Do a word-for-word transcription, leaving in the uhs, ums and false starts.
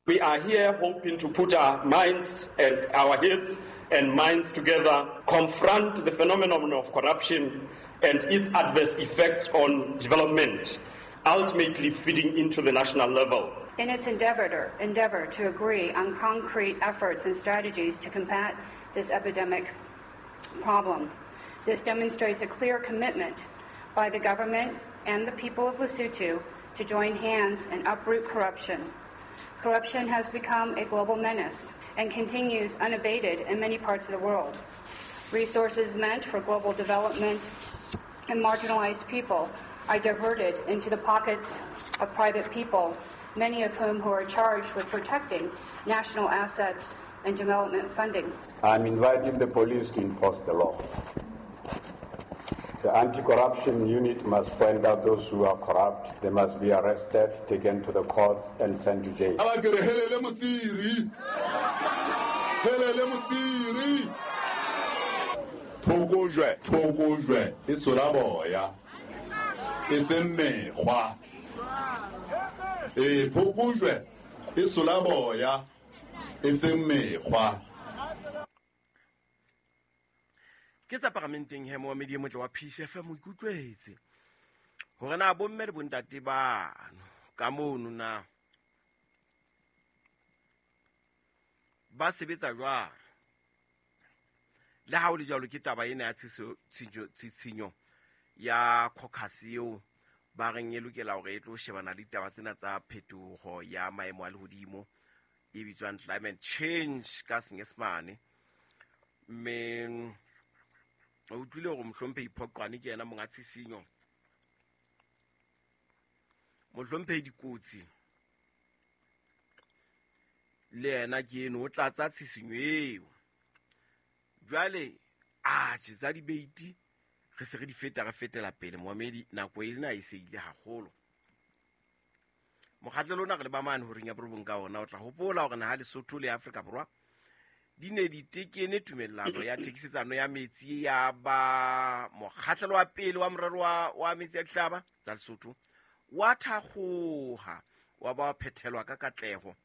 We are here hoping to put our minds and our heads and minds together, confront the phenomenon of corruption and its adverse effects on development, ultimately feeding into the national level. In its endeavor to, endeavor to agree on concrete efforts and strategies to combat this epidemic problem. This demonstrates a clear commitment by the government and the people of Lesotho to join hands and uproot corruption. Corruption has become a global menace and continues unabated in many parts of the world. Resources meant for global development and marginalized people are diverted into the pockets of private people, many of whom who are charged with protecting national assets and development funding. I'm inviting the police to enforce the law. The anti-corruption unit must find out those who are corrupt. They must be arrested, taken to the courts, and sent to jail. A ba ke re helele Motsiri, helele Motsiri. Phokojwe, phokojwe e sola boya, e seng mekgwa. Ee, phokojwe e sola boya, e seng mekgwa. Ke tsa paramenteng he, moamedi e motle wa Peace F M, o ikutlwetse hore na bomme le bontate bano ka mono na ba sebetsa jwang. Le ha o le jwalo, ke taba ena ya tshitshinyo ya caucus eo ba reng e lokela hore e tlo shebana le ditaba tsena tsa phetoho ya maemo a lehodimo, e bitswang climate change ka Senyesemane. Mme o utlwile hore Mohlomphehi Phoqwane ke yena monga tshisinyo, Mohlomphehi Dikotsi le yena ke eno o tlatsa tshisinyo eo. Jwale atjhe, tsa debate re se re di feta, re fetela pele, moamedi. Nako ena e se ile haholo. Mokgatlelo ona re le ba mane horeng ya borobong ka ona. O tla hopola hore naha Lesotho le Afrika Borwa di ne di tekene tumellano ya thekisetsano ya metsi, ya ba mokgatlelo wa pele wa morero wa, wa metsi ya dihlaba tsa Lesotho wa thakgoha, wa ba wa phethelwa ka katleho.